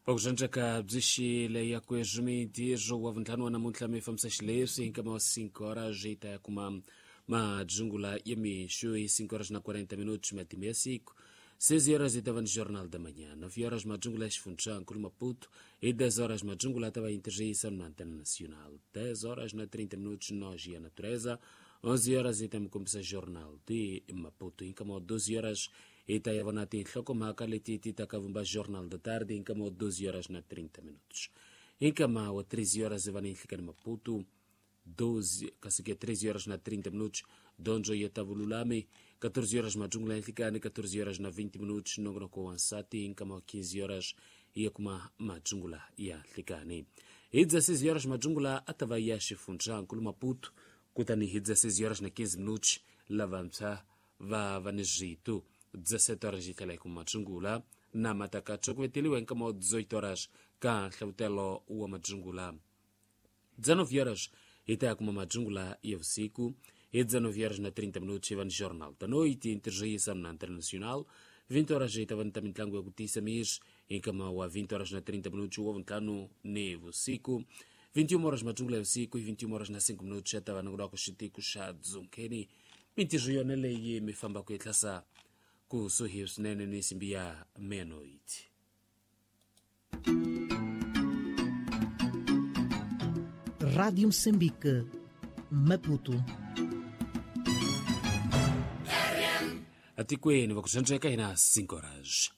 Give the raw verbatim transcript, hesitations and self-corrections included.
Vakuxandzaka byi xile ya kweswi mintirho wa vuntlhanu wa namuntlha mi fambisa xileswi hi nkama wa cinco horas yi ta ya kuma madzungula ya mixo hi cinco horas na quarenta minutos matimu ya siku seis horas yi ta va ni Jornal da Manhã, nove horas madzungula ya xifundzhankulu Maputo e dez horas madzungula ta va interjeição na Antena Nacional, dez horas na trinta minutos nós e a natureza, onze horas yi ta mi kombisa Jornal de Maputo, hi nkama wa doze horas yi ta ya vona tinhlokomhaka leti ti ta ka vumba Jornal da Tarde hi nkama wa doze horas na trinta minutos, hi nkama wa treze horas hi va ni nhlikani Maputo doze kasi ke treze horas na trinta minutos donjo ya tavululami, catorze horas madzungula ya nhlikani, catorze horas na vinte minutos nongonoko wa nsati, nkama wa quinze horas ya kuma madzungula ya nhlikani, hi dezesseis horas madzungula a ta va ya xifundzhankulu Maputo, kutani hi dezesseis horas na quinze minutos lavantshwa va va ni zwitu dezessete horas yi tlhela yi kuma madzungula na matakatsho ku veteliwa hi nkama wa dezoito horas ka nhlavutelo wa madzungula. Dezenove horas hi ta ya kuma madzungula ya vusiku, hi dezenove horas na trinta minutos hi va ni Jornal da Noite interjeição na Antena Nacional, vinte horas hi ta va ni ta mitlangu ya ku tiyisa miri hi nkama wa vinte horas na trinta minutos wa vuntlhanu ni vusiku, vinte e uma horas madzungula ya vusiku hi vinte e uma horas na cinco minutos ya ta va ni ku lwa ku xitiko xa dzunkheni. Mintirho yona leyi mi fambaka yi tlhasa kusuhi swinene ni nsimbi ya meia-noite. Rádio Moçambique, Maputo. Atikweni va ku xandzeka hina cinco horas.